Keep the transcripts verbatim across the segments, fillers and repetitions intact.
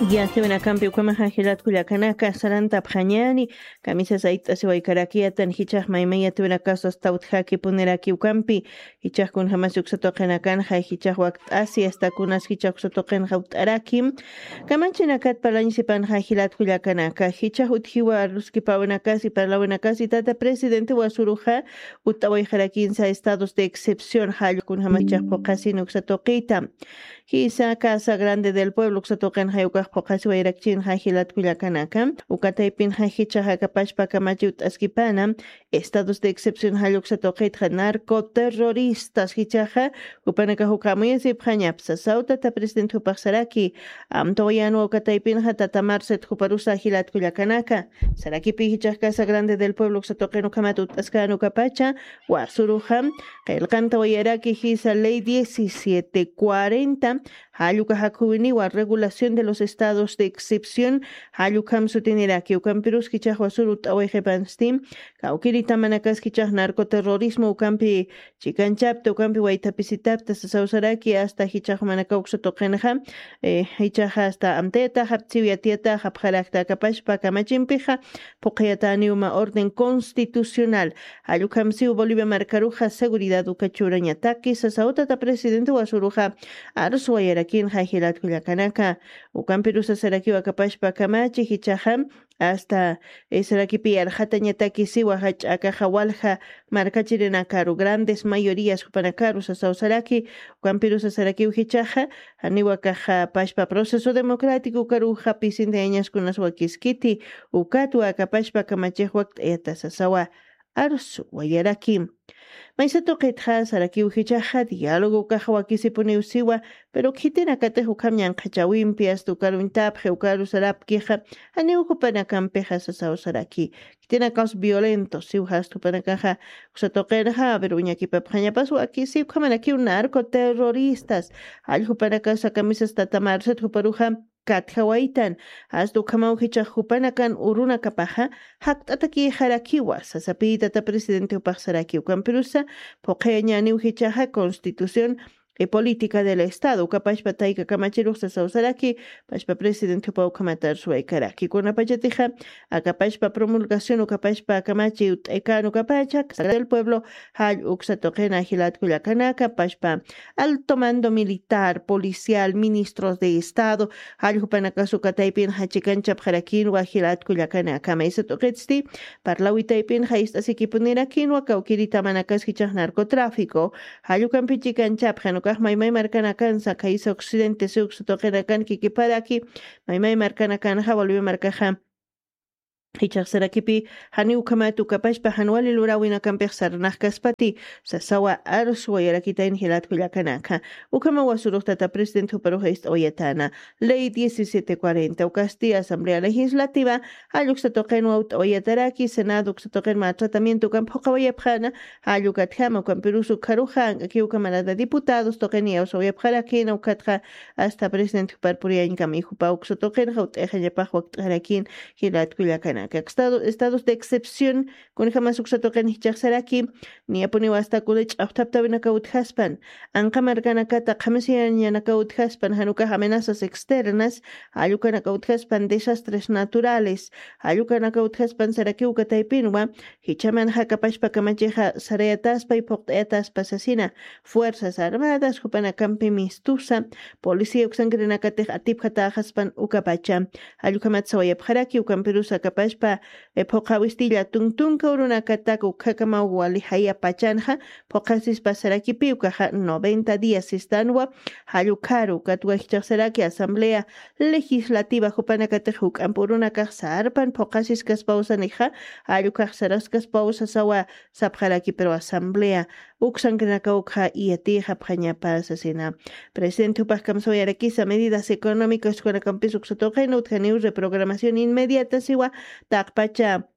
Yatiwinakampi ukhamaxa jilat kullakanaka sarantapxañani, kamisas ayt'asiwaykarakiyatan jichax maymayatiwinakasas tawtjakipunirakiwkampi, jichax kunjamasi uksa tuqinakanxa jichax wakt'asi asta kunas jichax uksa tuqinxa ut'arakim. Kamachinakat parlañsipanxa jilat kullakanaka jichax utjiwa arluskipawinakasi parlawinakasi tata presidente wasuruxa ut'awayxarakinsa estados de excepción jallkunjama jichax phuqhasin uksa tuqita. Jisa Casa Grande del Pueblo uksa tuqinxa ukax phuqhasiwayrakchinxa jilat kullakanaka, uka taypinxa jichaxa kapashpa kamachiw t'askipana estados de excepción jall uksa tuqitxa narcoterroristas jichaxa jupanakax ukamuyasipxañapsa sawtata presidente jupaxsaraki. Amtawayanwa uka taypinxa tata Marcet juparusa jilat kullakanaka, sarakipi jichax Casa Grande del Pueblo uksa tuqin ukhamat ut'askan ukapacha wasuruxa qillqantawayaraki jisa ley diecisiete cuarenta, jalluka jakhuwiniwa regulación de los estados de excepción, jallukham sutiniraki ukampirus jichax wasuru t'awayxipansti kawkiritamanakaskichax narcoterrorismo ukampi chikanchapta ukampi waythapisitapta sasawsaraki asta jichax manaka uksa tuqinxa, eh, jichaxa asta amtayataxa aptsiw yatiyataxa apxarakta akapashpa kamachimpixa phuqhayataniwma orden constitucional. Jallukhamsiw Bolivia markaruxa seguridad uka churañataki sasawtata presidente wasuruxa arsuwayarakinxa jilat kullakanaka. Ukampirusa sarakiw akapashpa kamachi jichaxa asta, eh, sarakipi arxatañataki siwa jach'akaxa walja markachirinakaru grandes mayorías jupanakaru sasawsaraki. Ukampirusa sarakiw jichaxa janiwakaxa pashpa proceso democrático ukaruxa pisintayañaskunas wakiskiti ukatwa akapashpa kamachix wakt'ayata sasawa arsuwayaraki. Maysa tuqitxa sarakiw jichaxa diálogo ukaxa wakisipuniw siwa, pero khitinakatix ukham ñanqhachawimpi asta ukaruñtapxi ukaru sarapkixa janiw jupanakampixa sasawsaraki khitinakaws violento siw jasta jupanakaxa uksa tuqinxa pero uñakipapxañapas wakisi ukhamarakiw narcoterroristas. Jall jupanakasa kamisas tata Marcet juparuxa katjawaytan asta ukhamaw jichax jupanakan urunakapaxa jakt'atakïxarakiwa sasapïtata presidente jupaxsaraki ukampirusa phuqhayañäniw jichaxa constitución y política del estado ukapashpa tayka kamachirux sasawsaraki pashpa presidente jupa ukhamata arsuwaykaraki kunapachatixa akapashpa promulgación ukapashpa kamachi ut'aykan ukapacha del pueblo jall uksa tuqina jilat kullakanaka pashpa alto mando militar policial ministros de estado jall jupanakas uka taypin jachikanchapxarakinwa jilat kullakanaka maysa tuqitsti parlawi taypin jayist'asikipunirakinwa kawkiritamanakaskichax narcotráfico jall ukampi chikanchapxan ukax maymay markanakansa khaysa occidente siw uksa tuqinakan kikiparaki maymay markanakanxa waliwi markaxa jichhax sarakipi janiw ukhamat ukapashpa jan wali luräwinakampix sarnaqkaspati sasawa arsuwayarakitayn jilat kullakanaka. Ukhamaw wasurux tata presidente juparux ist'awayatana ley diecisiete cuarenta ukasti asamblea legislativa jall uksa tuqinwa ut'awayataraki senado uksa tuqin mä tratamiento ukamp juqawayapxana jall ukatjama ukampirus ukharuxa ank'akiw camarada diputados tuqin iyawsawayapxarakina ukatxa asta presidente jupar puriyañkama jupa uksa tuqinxa ut'ayxañapax wakt'arakin jilat kullakanaka estados de excepción kunjamas uksa tuqin jichhaxsaraki niyapuniw asta kuna ch'axthaptawinakaw utjaspan anqa markanakata qhamisayañanakaw utjaspan jan ukax amenazas externas jall ukanakaw utjaspan desastres naturales jall ukanakaw utjaspan sarakiw uka taypinwa jichhaman jakapashpa kamachixa sarayataspay phuqt'ayataspa sasina fuerzas armadas jupanakampi mistusa policía uksankirinakatix atipjatäxaspan ukapacha jall ukhamat sawayapxaraki ukampirus akapashpa phuqhawistilla tuntunka urunakatak ukhakamaw wali jayapachanxa phuqhasispa sarakipi ukaxa noventa días sistanwa jall ukharu ukatwa jichhaxsaraki asamblea legislativa jupanakatix juk'amp urunakax sarpan phuqhasiskaspawsanixa jall ukax saraskaspawsasawa sapxaraki pero asamblea uksankinaka ukxa iyatïxapxañapa sasina presidente jupax kamsawayarakisa medidas económicas jupanakampis uksa tuqin utjaniw reprogramación inmediata siwa taqpacha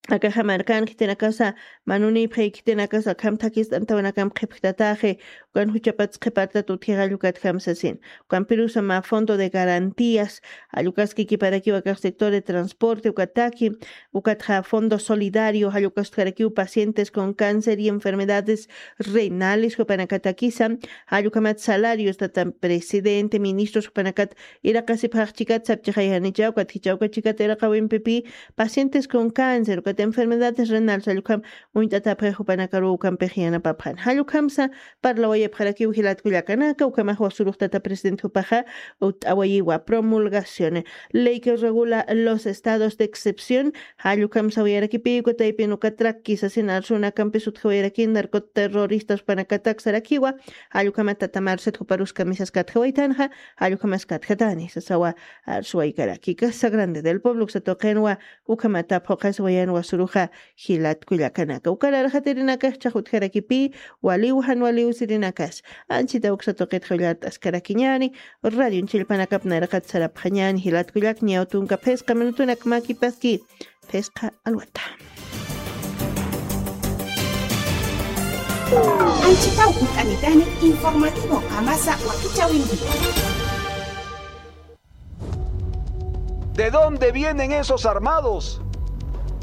Akaxa markan khitinakasa, manunipxi khitinakasa, akham thakist'antawanakamp qhipjtataxi, ukan juchapats qhipartat utjixa allukatjam sasin. Ukampirusa mä fondo de garantías, allukaskikiparakiw akax sector de transporte ukataki, ukatxa fondo solidario, allukaskarakiw pacientes con cáncer y enfermedades renales jupanakatakisa, allukamat salarios tata presidente, ministros jupanakat iraqasipxaxchikat sapchixayanicha, ukat jichawkachikat iraqawimpipi pacientes con cáncer, ukat enfermedades renales, allukham uñt'atapxi jupanakaruw ukampix yanapapxan. Jallukhamsa parlawayapxarakiw jilat kullakanaka, ukhamax wasuruxtata presidente jupaxa ut'awayiwa promulgación. Ley que regula los estados de excepción, jallukhamsa wayarakipi ukataypin ukatrak kisasin arsunakampis utjawayarakin narcoterroristas panakatak sarakiwa, jallukhamat tata Marcet juparus kamisas katjawaytanxa, jallukhamas katjatani sasawa arsuwaykaraki. Casa Grande del Pueblo uksa tuqinwa, ukhamata phuqas wayan wasuruxa jilat kullakanaka. Ukararxatirinakax chaqutjarakipi, waliw jan waliw sirinakas. Anchita uksa tuqit jawllat askarakiñani, radio chillpanakap nayraqat sarapxañani, jilat kullak ñaw tunka phisqa minutunak makipaski, phisqa alwata. Anchita ukut'anitani informativo Qamasa wakichawinkiwa. ¿De dónde vienen esos armados?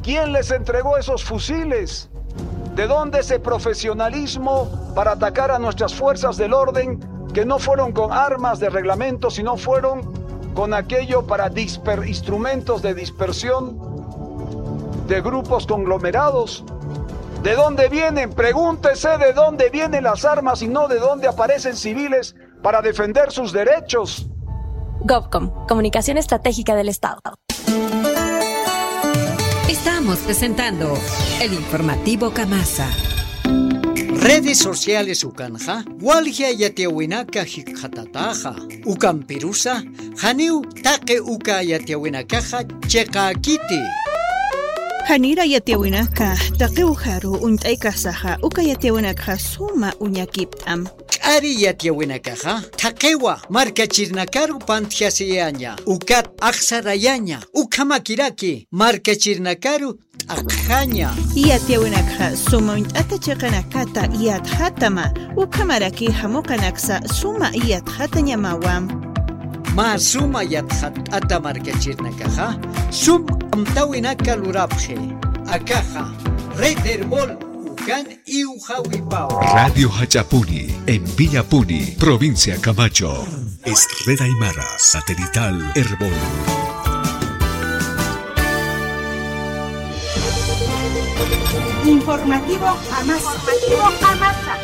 ¿Quién les entregó esos fusiles? ¿De dónde ese profesionalismo para atacar a nuestras fuerzas del orden que no fueron con armas de reglamento, sino fueron con aquello para disper-, instrumentos de dispersión de grupos conglomerados? ¿De dónde vienen? Pregúntese de dónde vienen las armas y no de dónde aparecen civiles para defender sus derechos. Gobcom, Comunicación Estratégica del Estado. Estamos presentando el informativo Kamasa. Redes sociales ukanxa, walja yatiyawinaka jikxatataxa, ukampirusa, janiw taqi uka yatiyawinakaxa chiqakiti. Janira yatiyawinaka, taqi ujaru uñt'aykasaxa, uka yatiyawinakxa suma uñakipt'am. K'ari yatiyawinakaxa, thaqiwa markachirnakaru pantjasiyaña, ukat axsarayaña, ukhamakiraki markachirnakaru t'aqjaña. Yatiyawinakxa suma uñt'ata chiqanakata yatxatama, ukhamaraki jamuqanaksa suma yatxatañamawa. Mä suma yatxat'ata markachirnakaxa, sum amtawinaka lurapxi. Akaxa, Red Erbol, ukan iwxawipaw. Radio Jach'apuni, en Villapuni, provincia Camacho. Es Red Aymara, satelital Erbol. Informativo Amasa. Informativo Amasa.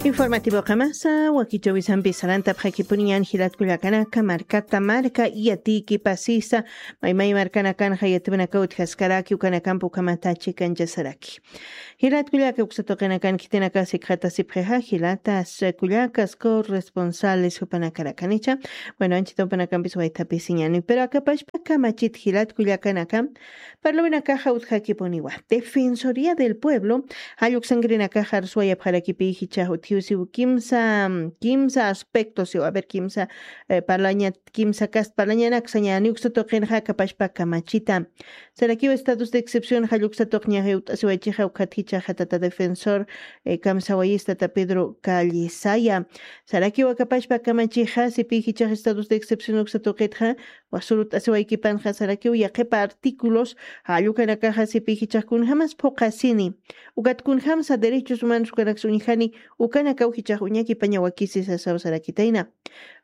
Informativo Qamasa, wakichäwisampi sarantapxakipuniñan jilat kullakanaka, markata marka yatiyki pasisa, maymay markanakanxa yatipinaka utjaskaraki, ukanakampi ukhamata chikanchasaraki. Jilat kullaka uksa tuqinakan khitinaka sikxatasipxixa, jilatas kullakas corresponsales jupanakarakanicha. Bueno, anchita jupanakampis waythapisiñani, pero akapashpa kamachit jilat kullakanaka, parlawinakaxa utjakipuniwa. Defensoría del Pueblo, jalluk sangrinakaxa arsuwayapxarakipi jichha utjiw siw kimsa, kimsa aspecto siw, a ver, kimsa, eh, parlaña, kimsa kast parlañanaksañani uksa tuqinxa akapashpa kamachita. Sarakiw estados de excepción jalluk satuqñaxa ut'asiwaychixa ukhat jichhaxa tata defensor, eh, kamsawayis tata Pedro Callisaya. Sarakiw akapashpa kamachixa sipi jichhax estados de excepción uksa tuqitxa, wasurut asiwaykipanxa sarakiw yaqhipa artículos, jallukanakaxa sipi jichhax kunjamas phuqasini, ukat kunjamsa derechos humanos ukanaksa uñjani, ukanakaw jichhax uñakipañawakisi sasaw sarakitayna.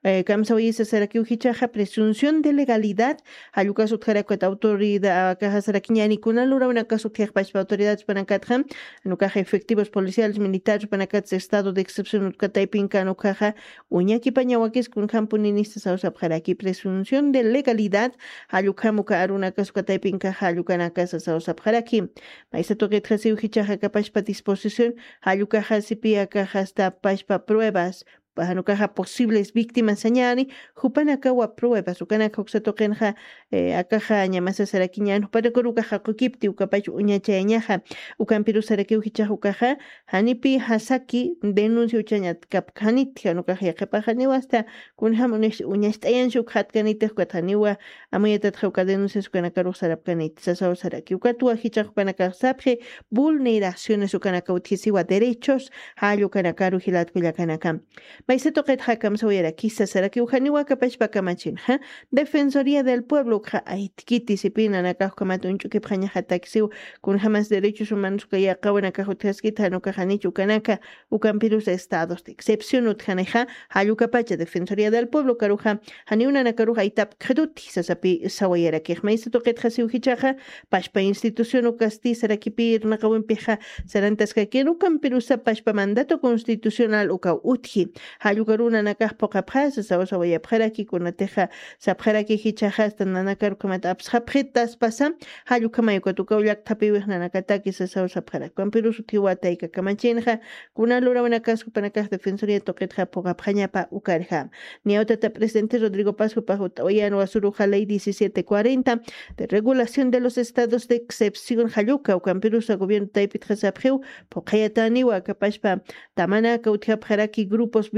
Eh, kamsawayisa sarakiw jichhaxa presunción de legalidad, jallukas utjarak ukat autoridad, akaxa sarakiñani kuna lurawinakas utjixpachpa autoridades panakatxa, nukaxa efectivos policiales, militares panakatsa estado de excepción utkataypinkan ukaxa, uñakipañawakis kunjampuninista sawsapxaraki presunción de legalidad, jallukjam uka arunakas ukataypinkaxa jallukanakas sawsapxaraki. Maysa tuqitxa siw jichhaxa akapashpa disposición, jallukaxa sipi akaxa hasta pashpa pruebas, Janukaxa posibles víctimas sañäni, jupanakawa pruebas ukanaka uksa tuqinxa, akaxa ñamasa sarakiñän jupanakarukaxa qukipti ukapach uñachayañaxa. Ukampiru sarakiw jichax ukaxa janipi jasaki denuncia uchañat kapka janiti janukax yaqhipaxa niwa asta kunjam uñacht'ayanshi ukxatkanitix ukat janiwa amuyatatxa uka denuncias ukanakarux sarapkaniti sasaw saraki ukatwa jichax ukanakax sapxi vulneraciones ukanaka utjisiwa derechos. Jall ukanakaru jilat kullakanaka. Maysa tuqitxa kamsawayarakisa sarakiw janiwa kapachpa kamachinxa defensoría del pueblo ukxa aytkiti sipina nakax ukamat uñch'ukipxañaxatakisiw kunjamas derechos humanos uka yaqawanakax utjaskita janukaxanich ukanaka ukampirus estados de excepción utjanixa. Jallukapacha defensoría del pueblo karuxa janiw nanakaruxa aytap kxituti sasapi sawayarakix maysa tuqitxa siw jichaxa pashpa institución ukasti sarakipir naqawimpixa sarantaskakin ukampirusa pashpa mandato constitucional ukaw utji. Jallukaru nanakax puqapxasa sawa sawayapxaraki kunatixa sapxaraki jichaxasta nanakarukamat apsxapxitaspasa. Jallukhamay ukat ukaw llakthapiwix nanakataki sasaw sapxaraki ukampirus utjiwa tayka kamachinxa kuna lurawinakas jupanakax defensoría tuqitxa puqapxañapa ukarjam. Niyawtata presidente Rodrigo Paz jupax ut'awayan wasuruxa ley diecisiete cuarenta de regulación de los estados de excepción jalluka ukampirusa gobierno taypitxa sapxiw puqayataniwa kapashpa tamanaka utjapxaraki grupos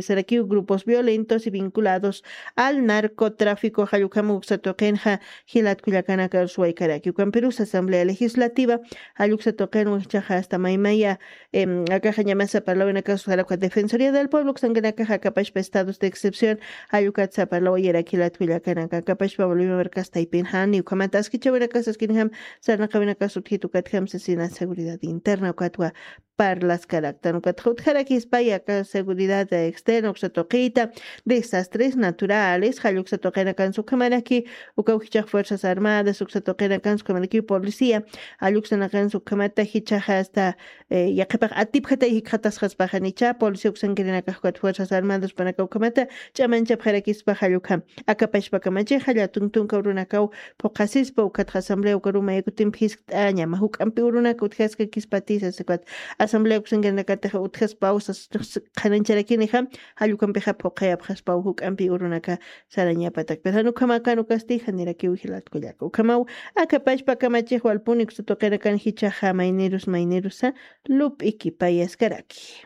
sarakiw grupos violentos y vinculados al narcotráfico jallukama uksa tuqinxa. Jilat kullakanaka suwaykaraki ukampirusa asamblea legislativa jalluksa tuqin wikchaxa asta maymaya akaxa ñamasa parlawinakasu jarakuxa defensoría del pueblo uksankanakaxa akapashpa estados de excepción. Jallukatsa parlawayarak jilat kullakanaka akapashpa bolivia markastaypin jani ukhamata askichawinakasaskinjam sarnaqawinakasu utjitukatjam sasina seguridad interna ukatwa parlaskaraktan ukatxa utjarakispa yaka seguridad externa uksa tuqita desastres naturales jalluksa tuqinakansa ukhamaraki ukaw jichax fuerzas armadas uksa tuqinakansa ukhamaraki policía. Jalluksanaqansa ukhamata jichaxa asta yaqhipax atipjatay jikxatasqaspaxanicha policía uksankirinakax ukat fuerzas armadas panaka ukhamata ch'amanchapxarakispa jallukha akapashpa kamachixa llatuntunka urunakaw phuqhasispa ukatxa asamblea ukaruma yakutimpi jiskt'añama juk'ampi urunaka utjaskakispati sasikwat asamblea uksankirinakatix utjaspaw sas qhanañcharakinixa. Jallukampixa phuqhayapxaspaw juk'ampi urunaka sarañapatak pero jan ukhamakan ukasti janirakiw jilat kullaka ukhamaw akapashpa kamachix walpuni uksa tuqinakan jichaxa maynerus maynerusa lup'ikipayaskaraki.